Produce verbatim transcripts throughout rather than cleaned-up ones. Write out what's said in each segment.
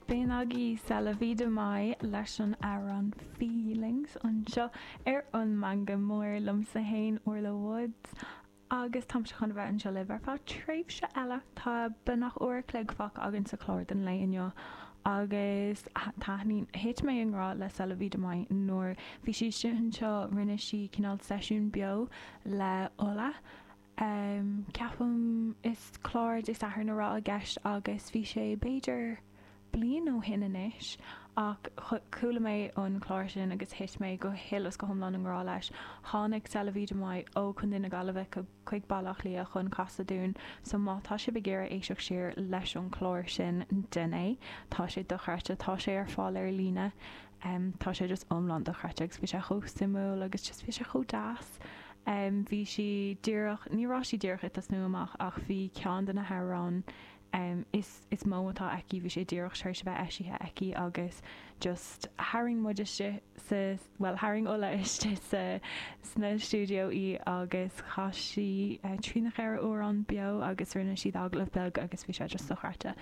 B'in agaibh C'est la vie de Mai leis an amhrán Feelings anseo ar an Meangadh Mór liomsa féin Orla Woods agus táimse chun bheith anseo libh ar feadh tréimhse eile tá beagnach uair an chloig fágtha againn sa chlár don lae inniu agus taitníonn thit mé i ngrá le C'est la vie de Mai nuair bhí sí anseo rinne sí cineál seisiún beo le Ola. Um, ceapaim is clár Dé Sathairn a raibh i gceist agus bhí sé b'fhéidir bliain ó shin anois ach chuala mé an clár sin agus thit mé go huile is go hiomlán i ngrá leis. Tháinig C'est la vie de Mai ó Chontae na Gaillimhe chuig Baile Átha Cliath chun casadh dúinn, so má tá sibh ag iarraidh éisteacht siar leis an chlár sin déan é. Tá sé dochreidte, tá sé ar fáil ar líne. Um, tá sé just iomlán dochreidte agus bhí sé chomh suimiúil agus just bhí sé chomh deas. Um, bhí sí díreach ní raibh sí díreach ag tosnú amach ach bhí ceann de na hamhráin um, is, is mó atá aici bhí sé díreach tar éis a bheith eisithe aici agus just tharraing muid istigh sa well tharraing Ola istigh sa sna stiúideo í agus chas sí uh, trí nó ceithre amhrán beo agus rinne siad agallamh beag agus bhí sé just dochreidte.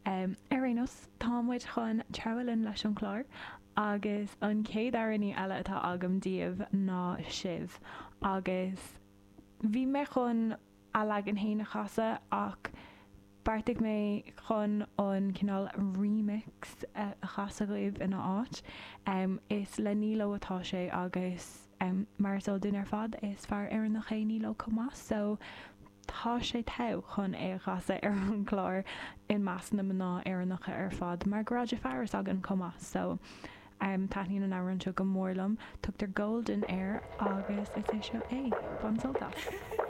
Um, ar aon nós tá muid chun treabhadh linn leis an chlár agus an chéad amhránaí eile atá agam daoibh ná sibh agus bhí mé chun a leagan féin a chasadh ach Beartaigh mé chun an cineál remix a chasadh dhaoibh ina áit. Um, is le Nilo atá sé agus um, mar is eol dúinn ar fad is fear Éireannach é Nilo chomh maith, so tá sé togha chun é a chasadh ar an gclár i measc na mná Éireannacha ar fad mar go raibh fearas againn chomh maith, so um, taitníonn an amhrán seo go mór liom, tugtar Golden air agus is é seo é, bain sult as.